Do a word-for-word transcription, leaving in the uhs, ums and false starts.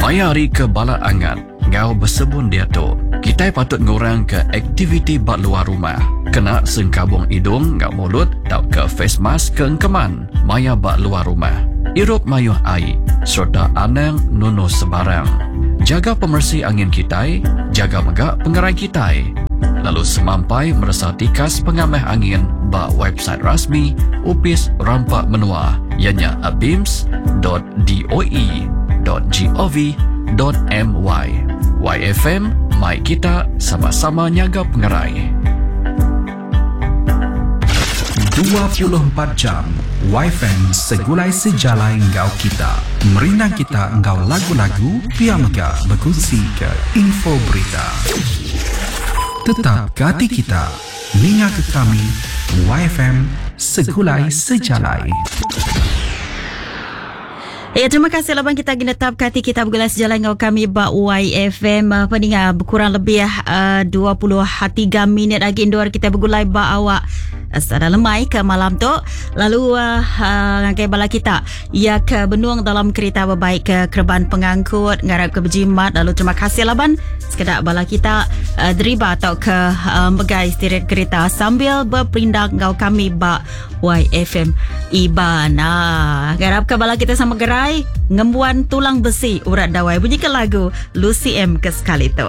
Maya hari ke balat angat enggau besebun diatu, kitai patut ngurangka aktiviti ba luar rumah. Kena sengkabung idung enggau mulut tauka face mask ke engkeman maya ba luar rumah. Irup mayuh ai sereta anang nunu sebarang. Jaga pemeresi angin kitai, jaga mega pengerai kitai. Lalu semampai meresa tikas pengamah angin ba website rasmi Opis Rampa Menua ianya abims dot doe dot gov dot my. Y F M, mai kita sama-sama nyaga pengerai. dua puluh empat jam Y F M segulai sejalai enggau kita. Merindang kita enggau lagu-lagu pia mega berkongsi ke info berita. Tetap gati kita, ninga ke kami Y F M segulai sejalai. Ya, terima kasih laban kita genetap kati kita bergulai sejalan dengan kami ba Y F M. Apa ni kurang lebih uh, dua puluh tiga minit lagi indoor kita bergulai ba awak sada lemai ke malam tu. Lalu uh, uh, ngagai bala kita ya ke benung dalam kereta berbaik ke kerban pengangkut ngarap ke berjimat. Lalu terima kasih laban sekedak bala kita uh, deriba atau ke uh, megai steering kereta sambil berperindang ngau kami ba Y F M Iban. Ah, ngarap ke bala kita sama gerai ngembuan tulang besi urat dawai. Bunyi ke lagu Lucy M ke sekali tu.